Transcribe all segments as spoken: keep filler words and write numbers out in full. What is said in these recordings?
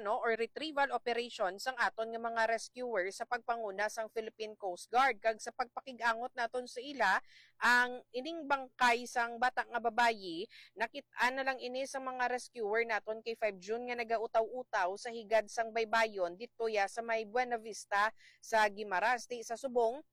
no, or retrieval operation sang aton nga mga rescuer sa pagpanguna sang Philippine Coast Guard. Kag sa pagpakig-angot naton sa ila, ang ining bangkay sang bata nga babayi, nakit-an na lang ini sa mga rescuer naton K five June nga nagautaw-utaw sa higad sang baybayon didto ya sa may Buena Vista sa Guimaras. Di sa subong,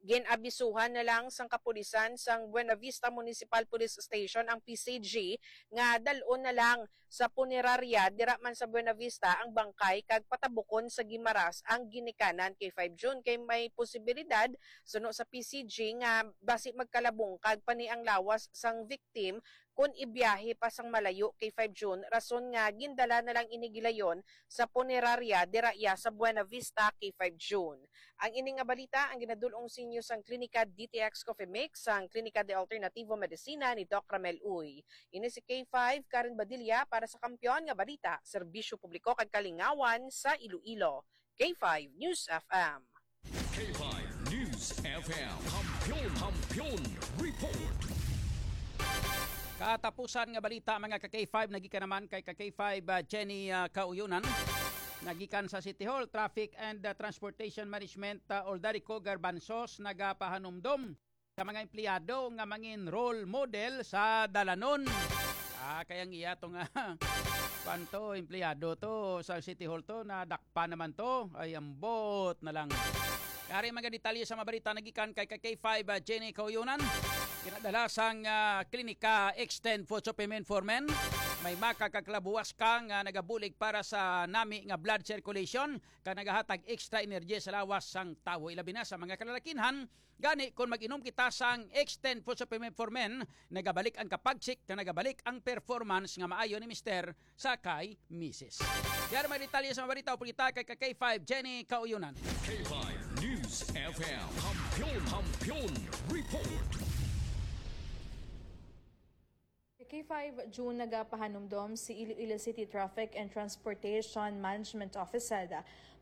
gin-abisuhan na lang sang kapulisan sang Buena Vista Municipal Police Station ang P C G nga dal-on na lang sa punerarya dira man sa Buena Vista ang bangkay kag patabukon sa Guimaras ang ginikanan. K five June, kay may posibilidad, suno sa P C G, nga basi magkalabungkag pa ni ang lawas sang victim kon ibiyahe pa sang malayo. K five June, rason nga gindala na lang ini gilayon sa punerarya dira iya sa Buena Vista. K five June. Ang ini nga balita ang ginadul-ong sa inyo sang Klinika D T X Coffee Mix, sang Klinika de Alternativo Medicina ni Doc Ramel Uy. Ini si K five, Karen Badilla, para sa Kampiyon nga Balita, Serbisyo Publiko kag Kalingawan sa Iloilo. K five News F M. K five News F M. Kampiyon, Kampiyon Report. Katapusan nga balita, mga ka K five, nagikan naman kay ka K five, ah, Jenny, ah, Kauyonan. Nagikan sa City Hall, Traffic and, ah, Transportation Management, ah, Oldarico Garbanzos, nagapahanumdom sa mga empleyado nga mangin role model sa dalanon. Ah, kay ang iya to nga, kwan to, empleyado to sa City Hall to, nadakpan naman to. Ay, ambot na lang. Kari mga detalye sa mga balita nagikan kay ka K five, ah, Jenny Kauyonan. Ginadala sang, ah, Klinika Extend Food Supplement for Men. May maka kag kalabuwas ka nga nagabulig para sa nami nga blood circulation kag nagahatag extra energy sa lawas sang tawo, ilabi na sa mga kalalakinhan. Gani, kon mag-inom kita sang Extend Food Supplement for Men, nagabalik ang kapagsik kag nagabalik ang performance nga maayo ni Mister sa kay Misis. Yari may detalye sa mga balita, upod kita kay ka K five Jenny Kauyonan. K five News F M. Kampiyon, Kampiyon Report. K five June, nagapahanumdom si Iloilo City Traffic and Transportation Management Officer,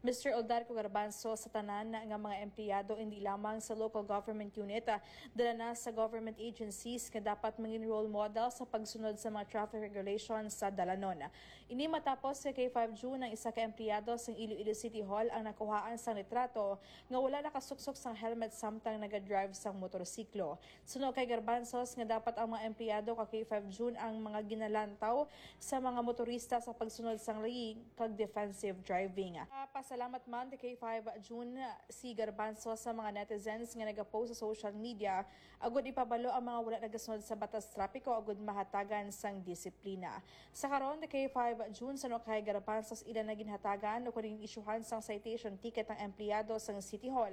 Mister Odarco Garbanzo, sa tanan nga mga empleyado, indi lamang sa local government unit, dala na sa government agencies, nga dapat mangin role model sa pagsunod sa mga traffic regulations sa dalanon. Ini matapos sa K five June, ang isa ka empleyado sang Iloilo City Hall ang nakuhaan sang litrato nga wala nakasuksok sang helmet samtang nagadrive sang motorsiklo. Suno kay Garbanzos nga dapat ang mga empleyado ka K five June ang mga ginalantaw sa mga motorista sa pagsunod sang layi kag defensive driving. Pasalamat man ti K five June si Garbanzos sa mga netizens nga nagapost sa social media agud ipabalo ang mga wala nagasunod sa batas trapiko agud mahatagan sang disiplina. Sa karon, ti K five June, suno kay Garbanzos, ila na ginhatagan o kuning isyuhan sang citation ticket ang empleyado sang City Hall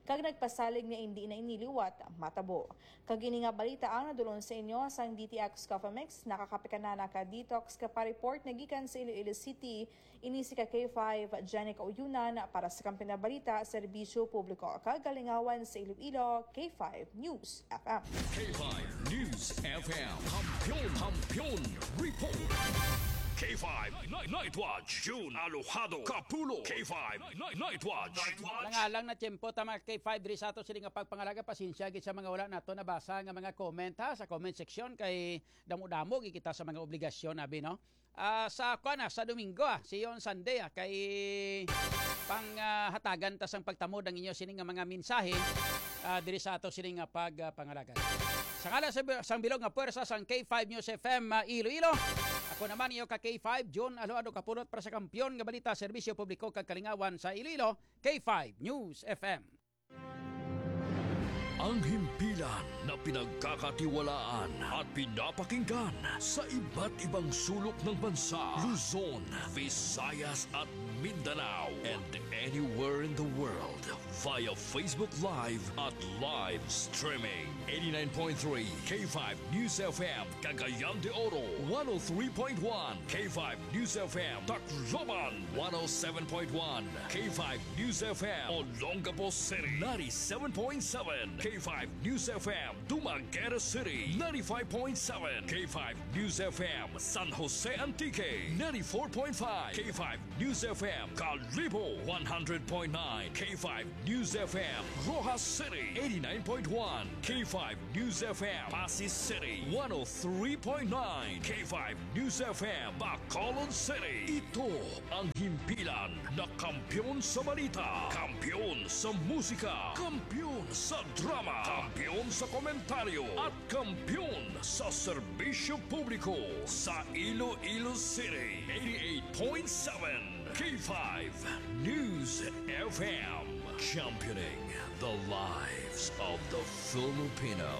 kag nagpasalig nga indi na ini liwat matabo. Kag ini nga balita ang nadulon sa inyo sang D T X Coffee Mix. Nakakape ka na, naka-detox ka pa. Report nagikan sa Iloilo City, ini si ka K five, Jenny Kauyunan, para sa Kampiyon nga Balita, Serbisyo Publiko kag Kalingawan sa Iloilo, K five News F M. K five News F M. Kampiyon, Kampiyon Report. K five Night, Night Watch. June Alojado Kapulo. K five Night, Night Watch. Alang-alang na tiyempo ta, mga K five, diri sa ato sini nga pagpangalaga. Pasensya gid sa mga wala nato nabasa nga mga comment, ha, sa comment section, kay damo-damo gid kita sa mga obligasyon, abi, no? Ah, sa, kuwan na, sa Domingo, ah, siyon Sunday, ah, kay pang, ah, hatagan ta sang pagtamod ang inyo sini nga mga mensahe, ah, diri sa ato sini nga pag, ah, pangalaga. Sa ngalan sa, sang bilog nga puwersa sang K five News F M, ah, Iloilo, ako naman iyo ka K five, June Alojado Kapulot, para sa Kampiyon nga Balita, Serbisyo Publiko kag Kalingawan sa Iloilo, K five News F M. Ang himpilan na pinagkakatiwalaan at pinapakinggan sa iba't ibang sulok ng bansa, Luzon, Visayas at Mindanao, and anywhere in the world via Facebook Live at live streaming. Eighty-nine point three K five News F M, Cagayan de Oro, one oh three point one K five News F M, Tacloban, one oh seven point one K five News F M, Olongapo City, ninety-seven point seven K K five News F M, Dumaguete City, ninety-five point seven. K five News F M, San Jose Antique, ninety-four point five. K five News F M, Kalibo, one hundred point nine. K five News F M, Roxas City, eighty-nine point one. K five News F M, Passi City, one oh three point nine. K five News F M, Bacolod City. Ito ang himpilan na kampiyon sa balita, kampiyon sa musika, kampiyon sa drama, kampiyon sa komentaryo, at kampiyon sa serbisyo publiko sa Iloilo City. Eighty-eight point seven K five News F M, championing the lives of the Filipino.